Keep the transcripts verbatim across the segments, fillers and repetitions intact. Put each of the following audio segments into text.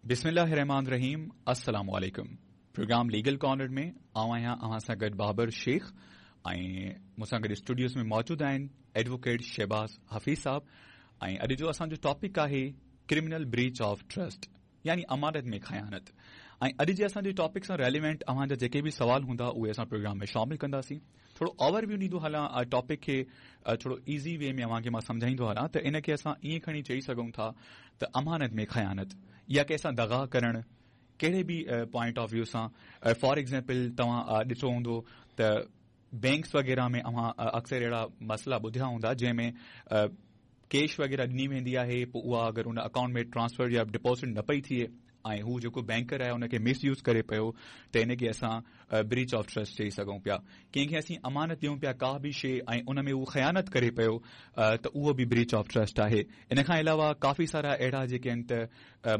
बिस्मिल्लाहिर्रहमानिर्रहीम। अस्सलाम वालेकुम। प्रोग्राम लीगल कॉर्नर में आऊं आहियां अव्हां सां गॾु बाबर शेख ऐं मूंसां गॾु स्टूडियोज़ में मौजूदु आहिनि एडवोकेट शहबाज़ हफ़ीज़ साहब। ऐं अॼु जो असांजो टॉपिक आहे क्रिमिनल ब्रीच ऑफ ट्रस्ट यानी अमानत में ख़यानत। ऐं अॼु जे असांजे टॉपिक सां रेलिवेंट अव्हांजा जेके बि सवाल हूंदा उहे असां प्रोग्राम में शामिल कंदासीं। थोरो ओवरव्यू ॾींदो हलां, टॉपिक खे थोरो ईज़ी वे में अव्हांखे मां सम्झाईंदो हलां त इन खे असां ईअं खणी चई सघूं था त अमानत में ख़यानत या कंहिंसां दग़ा करणु कहिड़े बि पॉइंट ऑफ व्यू सां। फॉर एग्ज़ाम्पल तव्हां ॾिठो हूंदो त बैंक्स वग़ैरह में अव्हां अक्सर अहिड़ा मसइला ॿुधिया हूंदा जंहिंमें कैश वग़ैरह ॾिनी वेंदी आहे, पोइ उहा अगरि उन अकाउंट में ट्रांसफर या डिपॉज़िट न पई थिए ऐं हू जेको बैंकर आहे उनखे मिसयूज़ करे पियो त हिनखे असां ब्रीच ऑफ ट्रस्ट चई सघूं पिया। कंहिंखे असीं अमानत ॾियूं पिया का बि शइ ऐं उन में हू ख़यानत करे पियो त उहो बि ब्रीच ऑफ ट्रस्ट आहे। इन खां अलावा काफ़ी सारा अहिड़ा जेके आहिनि त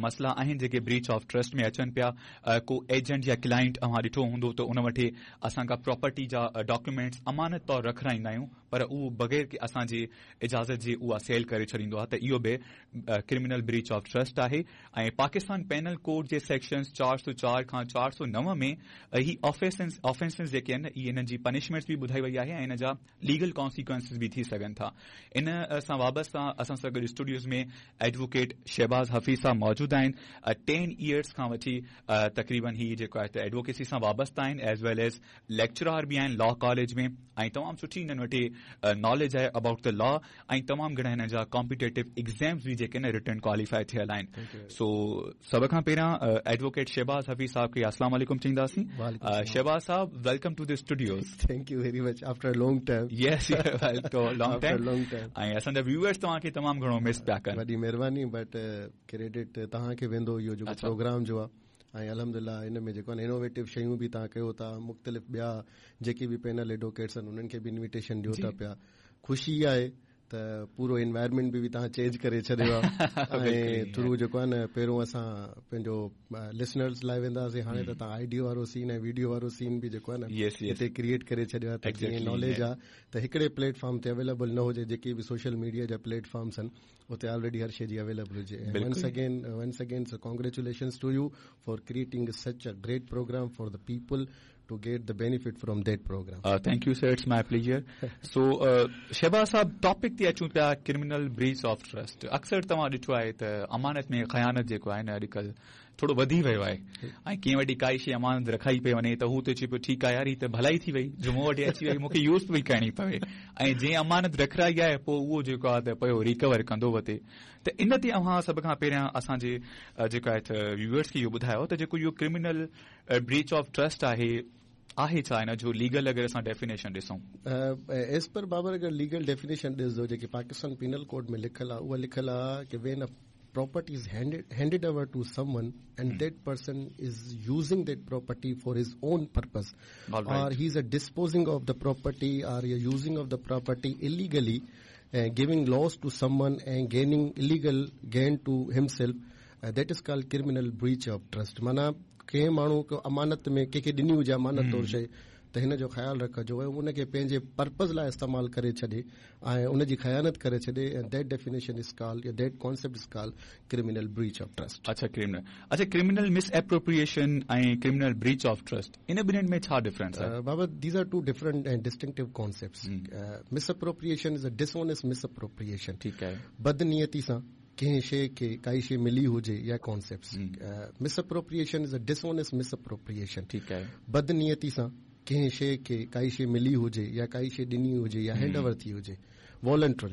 मसइला आहिनि जेके ब्रीच ऑफ ट्रस्ट में अचनि पिया। को एजेंट या क्लाइंट अव्हां ॾिठो हूंदो त उन वटि असां खां प्रॉपर्टी जा डॉक्यूमेंट्स अमानत तौरु रखाईंदा आहियूं पर उहो बग़ैर असांजी इजाज़त जे उहा सेल करे छॾींदो आहे त इहो बि क्रिमिनल ब्रीच ऑफ ट्रस्ट आहे। ऐं पाकिस्तान पेनल कोड जे सेक्शंस चार सौ चार खां चार सौ नौ में ही ऑफेंसेस ऑफेंसेस जेके आहिनि इहे इन्हनि जी पनिशमेंट्स बि ॿुधाई वई आहे ऐं इन जा लीगल कॉन्सिक्वेंसेस बि थी सघनि था। इन सां वाबस्ता असां सां गॾु स्टूडियोज़ में एडवोकेट शहबाज़ हफ़ीज़ साहब मौजूदु आहिनि। टेन इयर्स खां वठी तक़रीबन ही जेको आहे त एडवोकेसी सां वाबस्ता आहिनि, एज वेल एज लेक्चरार बि आहिनि लॉ कॉलेज में ऐं तमामु सुठी हिननि वटि नॉलेज आहे अबाउट the law ऐं तमामु घणा हिननि जा कॉम्पिटेटिव एग्ज़ाम्स बि जेके आहिनि रिटन क्वालिफाई थियल आहिनि। सो सभ खां पहिरियां एडवोकेट शहबाज़ हफ़ीज़ साहब खे अस्सलाम वालेकुम चईंदासीं। शहबाज़ साहब, welcome to the studios. Thank you very much after long time. Yes, long time long time. ऐं असांजा व्यूअर्स तव्हांखे तमामु घणो मिस पिया कनि। वॾी महिरबानी, बट क्रेडिट तव्हांखे वेंदो इहो जेको प्रोग्राम जो आहे ऐं अल्हम्दुलिल्लाह इन में जेको आहे इनोवेटिव शयूं बि तव्हां कयो था, मुख़्तलिफ़ ॿिया जेके बि पैनल एडवोकेट्स आहिनि उन्हनि खे बि इनविटेशन ॾियो था पिया। ख़ुशी आहे त पूरो इन्वायरमेंट बि तव्हां चेंज करे छॾियो आहे ऐं थ्रू जेको आहे न पहिरियों असां पंहिंजो लिसनर्स लाइ वेंदा हुआसीं, हाणे त तव्हां आइडियो वारो सीन ऐं वीडियो वारो सीन बि जेको आहे न हिते क्रिएट करे छॾियो आहे त जीअं नॉलेज आहे त हिकिड़े प्लेटफॉर्म ते अवेलेबल न हुजे, जेके बि सोशल मीडिया जा प्लेटफॉर्म्स आहिनि उते ऑलरेडी हर शइ जी अवेलेबल हुजे। Once again once again congratulations to you for creating such a great program for the people to get the benefit from that program. Uh, thank you, sir. It's my pleasure. So, uh, Shahbaz Sahib, topic ते अचूं पिया criminal breach of trust. अक्सर तव्हां ॾिठो आहे त अमानत में ख़यानत जेको आहे न अॼुकल्ह थोरो वधी वियो आहे ऐं कंहिं वटि काई शइ अमानत रखाई पई वञे त हू त चए पियो ठीकु आहे यार, हीअ त भलाई थी वई जो मूं वटि अची वई, मूंखे यूज़ पई करणी पवे ऐं जंहिं अमानत रखाई आहे पोइ उहो जेको आहे त पियो रिकवर कंदो वते। त इन ते अव्हां सभ खां पहिरियां असांजे जेको आहे त व्यूअर्स खे इहो ॿुधायो त जेको इहो क्रिमिनल ब्रीच ऑफ ट्रस्ट आहे आहे छा, हिन जो लीगल अगरि असां डेफिनेशन ॾिसूं? एज़ पर बाबर अगरि लीगल डेफिनेशन ॾिसजो जेकी पाकिस्तान पीनल कोड में लिखियलु आहे उहा लिखियलु आहे की when a property is handed handed over to someone and mm. that person is using that property for his own purpose, All right. or he is a disposing of the property or using of the property illegally, uh, giving loss to someone and gaining illegal gain to himself, uh, that is called criminal breach of trust. माना कंहिं माण्हू को अमानत में कंहिंखे ॾिनी हुजे अमानत तौर शइ त हिन जो ख़्यालु रखिजो ऐं उनखे पंहिंजे पर्पज़ लाइ इस्तेमालु करे छॾे ऐं उनजी ख़यानत करे छॾे, ऐं that definition is called या that concept is called criminal breach of trust. अच्छा, क्रिमिनल अच्छा क्रिमिनल मिस एप्रोप्रिएशन ऐं criminal breach of trust in ॿिन्हिनि में छा डिफरेंस आहे? बाबा, these are two different and distinctive concepts. Misappropriation is a dishonest misappropriation. ठीकु आहे। बदनीयती सां कंहिं शइ खे काई शइ मिली हुजे या concepts. Misappropriation is a dishonest misappropriation. ठीकु आहे। बदनीयती सां कंहिं शइ खे काई शइ मिली हुजे या काई शइ ॾिनी हुजे या हैंड ओवर थी हुजे वॉलंटरी।